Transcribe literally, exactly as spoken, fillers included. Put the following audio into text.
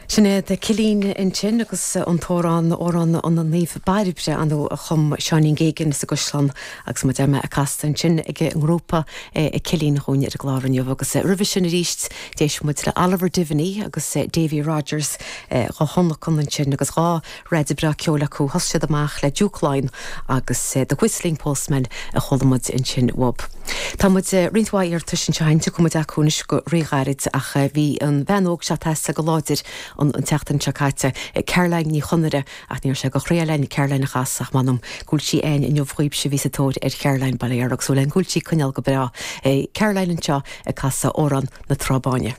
Sinéad Cillín ansin agus an t-amhrán Amhrán an Naomh Bairbre anu a chum Seáinín Geoghegan sa gCaisleán agus mu me a casta ansin ag an ngrúpa ag Cillín chugainn ar an gclár inniu agus roimhe sin arís d'éist muid le Oliver Diviney agus Davy Rogers dhá thionlacan ansin agus dhá rud breá ceoil acu thosaigh siad amach le Duke Line agus The Whistling Postman a chuala muid ansin uaidh. Tá muid roinnt mhaith iarratais anseo tiocfaidh muid acu anois go ríghairid ach bhí an bhean óg seo tasa go láidir an an tseachtain seo caite Caroline Ní Chonaire ach níor sé go chrélein Caroline a chas ach manam gúil sí ein inniu chuib se bhí sa tóir ar Caroline Baléir agus le gúil sí coinneal go breá. Caroline anseo ag casadh Amhrán na Trá Báine.